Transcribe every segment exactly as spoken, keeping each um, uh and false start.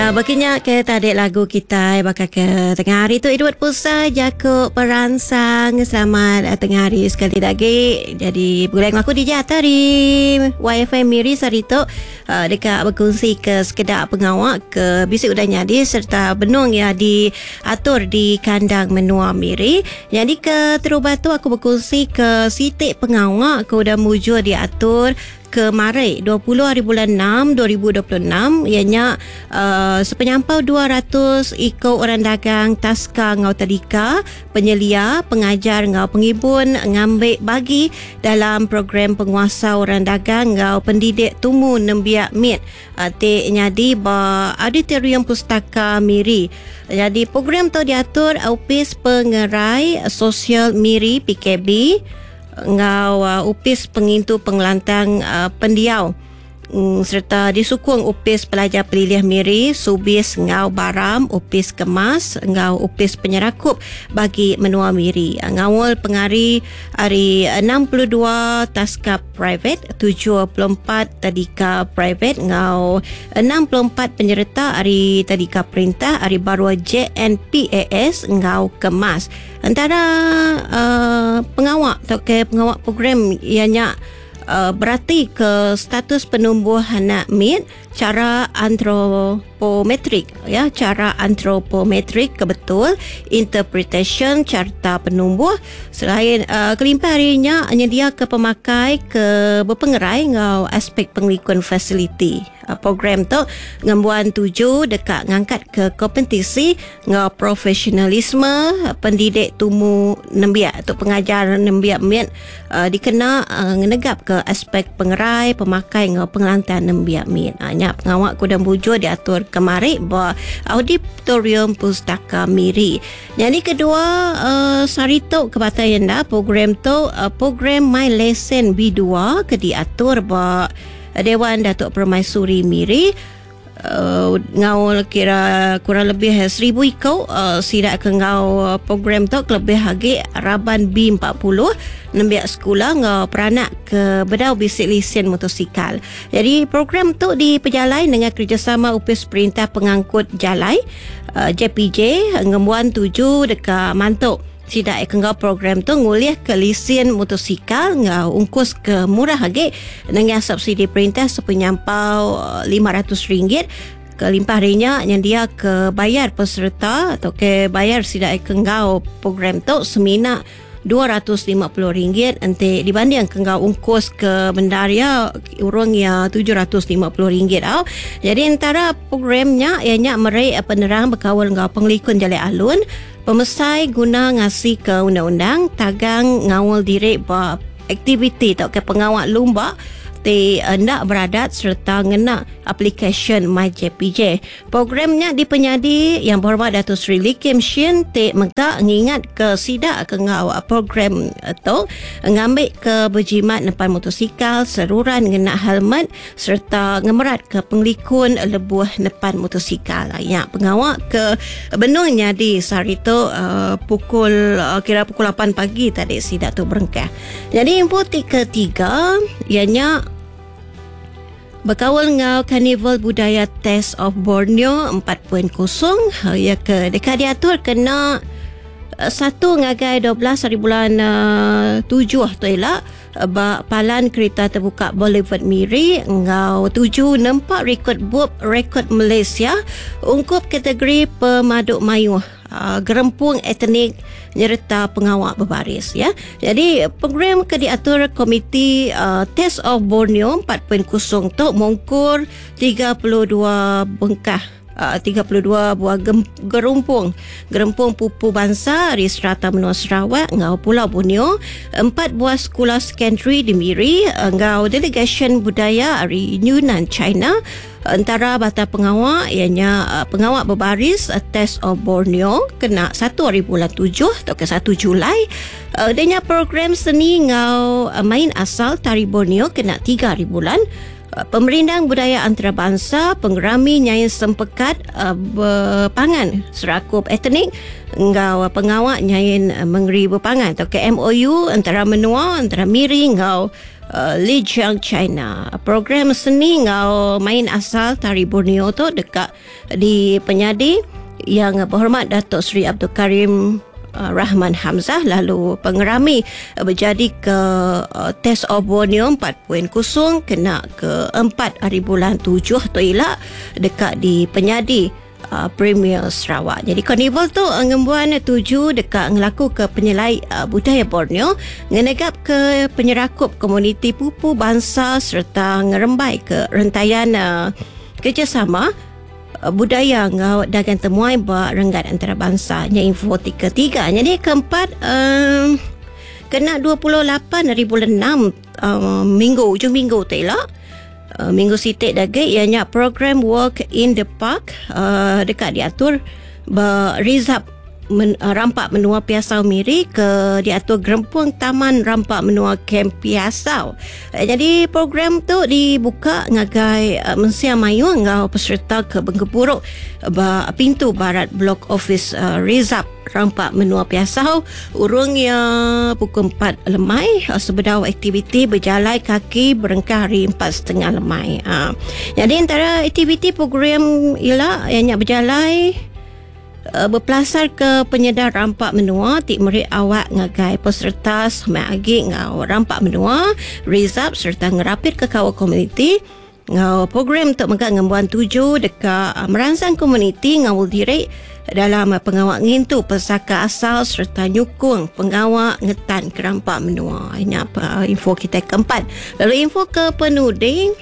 Uh, Baginya ke tadi lagu kita baka ke tengah hari tu Edward Pusa Jakub Peransang. Selamat uh, tengah hari sekali lagi. Jadi boleh aku D J Atari Y F M Miri hari tu uh, dekat berkongsi ke sekedar pengawak ke bisik udah nyadi serta benung ya diatur di kandang menua Miri. Jadi ke terubah tu aku berkongsi ke sitik pengawak ke udah mujur diatur ke Maret dua puluh hari bulan enam dua ribu dua puluh enam ianya uh, sepenyampau dua ratus ikut orang dagang taska ngau tadika penyelia pengajar ngau pengibun ngambil bagi dalam program penguasa orang dagang ngau pendidik tumu nembiak mit uh, te nyadi ba auditorium pustaka Miri. Jadi program tu diatur Ofis Pengerai Sosial Miri P K B ngau uh, Upis Pengintu Pengelantang uh, Pendiau mm, serta disukung Upis Pelajar Pelilih Miri, Subis ngau Baram, Upis Kemas ngau Upis Penyerakup bagi menua Miri. Ngawal pengari hari enam puluh dua taska private, tujuh puluh empat tadika private ngau enam puluh empat penyerta hari tadika perintah hari baru J N P A S ngau Kemas. Antara uh, pengawak atau ke pengawak program ianya uh, berarti ke status penumbuh anak mit cara antropometrik ya, cara antropometrik kebetul interpretation carta penumbuh selain uh, kelimpah harinya nyedia ke pemakai ke berpengerai ngau aspek pengelikun fasiliti. Uh, program tu ngembuan tuju dekat ngangkat ke kompetisi ngau profesionalisme pendidik tumu nembiak atau pengajar nembiak mit uh, dikena uh, ngenegap ke aspek pengerai pemakai ngau pengelantan nembiak mit. Uh, nya pengawak kudang bujur diatur kemari ba auditorium pustaka Miri. Yang kedua uh, sari tu ke batai anda program tu uh, program My Lesson B dua ke diatur ba Dewan Datuk Permaisuri Miri. Uh, ngau kira kurang lebih seribu ikut uh, sidak ke ngau program tu lebih lagi raban B empat puluh nembiak sekolah ngau peranak ke bedau bisik lesen motosikal. Jadi program tu diperjalai dengan kerjasama Upis Perintah Pengangkut Jalai uh, J P J ngembuan tuju dekat mantuk. Sidak ke ngau program tu ngulih ke lesen motosikal ngau ungkus ke murah lagi dengan subsidi perintah sepenyampau lima ratus ringgit. Kelimpah rinya yang dia ke bayar peserta atau ke bayar sidak ke ngau program tu semina dua ratus lima puluh ringgit ente dibanding ke ngau ungkus ke bendaria urang ya tujuh ratus lima puluh ringgit au. Jadi antara programnya ianya merik penerang berkawal ngau pengelikun jalan alun pemesai guna ngasih ke undang-undang tagang ngawal diri ba aktiviti atau ke pengawal lumba ti hendak beradat serta ngena aplikasi My J P J. Programnya dipenyadi Yang Berhormat Dato' Sri Lee Kim Shin ti mega ngingat ke sidak ke ngau program tu ngambil ke berjimat nepan motosikal seruran ngena helmet serta ngemerat ke pengelikun lebuh nepan motosikal. Ya pengawak ke benungnya di sehari tu uh, pukul uh, kira pukul lapan pagi tadi sidak tu berengkah. Jadi info ti ketiga ianya berkawal ngau Karnival Budaya Taste of Borneo empat titik kosong ya ke dekat diatur kena satu ngagai dua belas hari bulan uh, tujuh tu elak ba palan kereta terbuka Boulevard Miri ngau tujuh nempak rekod bub rekod Malaysia ungkup kategori pemaduk mayuh uh, gerempung etnik nyerta pengawak berbaris ya. Jadi program ke diatur komiti uh, Taste of Borneo empat titik kosong tu mongkur tiga puluh dua bengkah Uh, tiga puluh dua buah gem, gerumpung gerempung pupu bangsa di serata menua Sarawak ngau Pulau Borneo, empat buah sekolah secondary di Miri ngau delegation budaya dari Yunnan China. Antara bata pengawak ianya uh, pengawak berbaris uh, Taste of Borneo kena satu hari bulan tujuh atau ke satu Julai. Uh, denya program seni ngau uh, main asal tari Borneo kena tiga hari bulan. Pemerindang budaya antarabangsa, pengerami nyain sempekat uh, berpangan serakup etnik ngau pengawak nyain uh, mengeri berpangan atau ke M O U antara menua antara Miri ngau uh, Lijiang China. Program seni ngau main asal tari Borneo tu dekat di penyadi yang berhormat Datuk Seri Abdul Karim Rahman Hamzah, lalu pengerami berjadi ke uh, Test of Borneo empat titik kosong kena ke empat hari bulan tujuh tu elak dekat di penyadi uh, Premier Sarawak. Jadi karnival tu uh, ngembuan tuju dekat ngelaku ke penyelai uh, budaya Borneo, ngenegap ke penyerakup komuniti pupu bangsa serta ngerembai ke rentayan uh, kerjasama budaya ngau dagang temuai ba renggat antarabangsa. Nya info tiga tiga. Jadi keempat um, kena dua puluh lapan hari bulan enam um, minggu ujung minggu tu elak. Uh, minggu sitik dagi ianya program Walk in the Park uh, dekat diatur ba Rizab men, uh, Rampak Menua Piasau Miri ke diatur Gerempung Taman Rampak Menua Kem Piasau. Uh, jadi program tu dibuka ngagai uh, mensia mayu ngau peserta ke Bengkepuruk ba pintu barat blok office uh, Rizab Rampak Menua Piasau urungnya pukul empat lemai uh, sebedau aktiviti berjalan kaki berengkah hari empat setengah lemai. Uh, jadi antara aktiviti program ialah yang nak berjalan berpelasar ke penyedar rampak menua tik merik awak ngagai peserta semak agi ngau rampak menua Rizab serta ngerapit ke kawal komuniti ngau program untuk megak ngembuan tuju dekat merangsang komuniti ngau diri dalam pengawak ngintu pesaka asal serta nyukung pengawak ngetan ke rampak menua. Ini apa info kita keempat. Lalu info ke penuding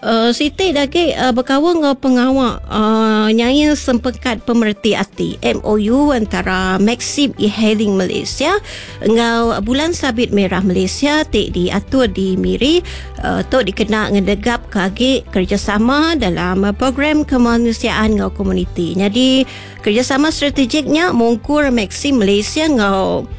Uh, Siti lagi uh, berkawal dengan pengawak uh, nyain sempekat pemerti hati M O U antara Maxim E-Hailing Malaysia dengan Bulan Sabit Merah Malaysia tik diatur di Miri uh, tok dikena ngedegap kagi kerjasama dalam program kemanusiaan dengan komuniti. Jadi kerjasama strategiknya mungkur Maxim Malaysia dengan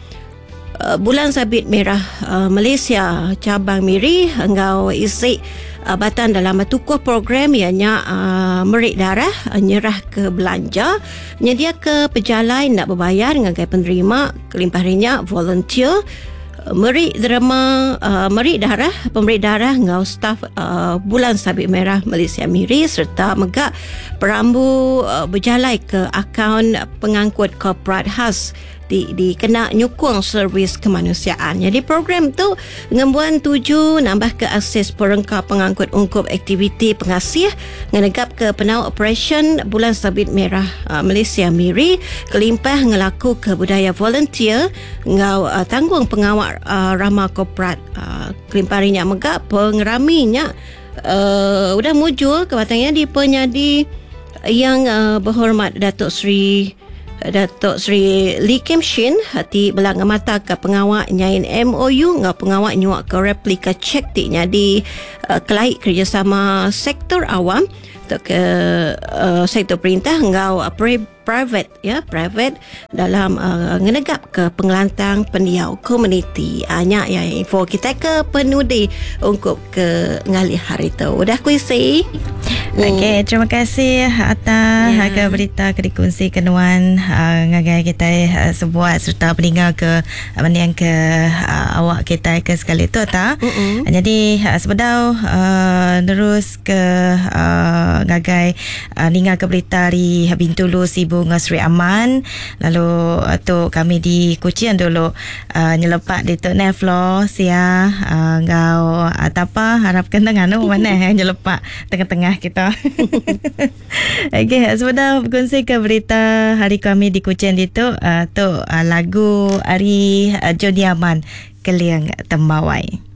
uh, Bulan Sabit Merah uh, Malaysia cabang Miri dengan isi Uh, batan dalam tukuh program ianya uh, merik darah uh, nyerah ke belanja nyedia ke pejalai nak berbayar ngagai penerima kelimpah rinya volunteer uh, merik derma uh, merik darah pemberi darah ngau staf uh, Bulan Sabit Merah Malaysia Miri serta megak perambu uh, berjalai ke akaun pengangkut korporat khas di dikena nyukung servis kemanusiaan. Jadi program tu ngembuan tuju nambah ke akses perengka pengangkut ungkup aktiviti pengasih ngenegap ke penau operation Bulan Sabit Merah uh, Malaysia Miri kelimpah ngelaku ke budaya volunteer ngau uh, tanggung pengawak uh, ramah korporat uh, kelimpah rinya megak pengeraminya uh, udah mujur kebatangnya di penyadi yang uh, berhormat Datuk Seri Datuk Seri Lee Kim Shin hati belang mata ke pengawak nyain M O U ngau pengawak nyuak ke replika cek tiknya di uh, kelaik kerjasama sektor awam atau ke uh, sektor perintah ngau uh, private ya private dalam uh, ngenegap ke pengelantang pendiau komuniti. Banyak ya info kita ke penudi untuk ke ngalih hari tu. Udah kuisi. Okey, terima kasih atas yeah. ke berita ke dikongsi kenuan uh, ngagai kita uh, sebuat serta pendengar ke uh, ke uh, awak kita ke sekali tu ta. Mm-hmm. Jadi uh, sebedau uh, terus ke uh, ngagai uh, ninga ke berita di Bintulu Sibu Sri Aman, lalu uh, tu kami di Kuching dulu uh, nyelepak di Tok Neflo sia uh, ngau uh, tapa harapkan tengah nu mana yang nyelepak tengah-tengah kita. Okey, sebentar berkongsi ke berita hari kami di Kuching itu uh, tu uh, lagu hari uh, Johnny Aman Keliang Tembawai.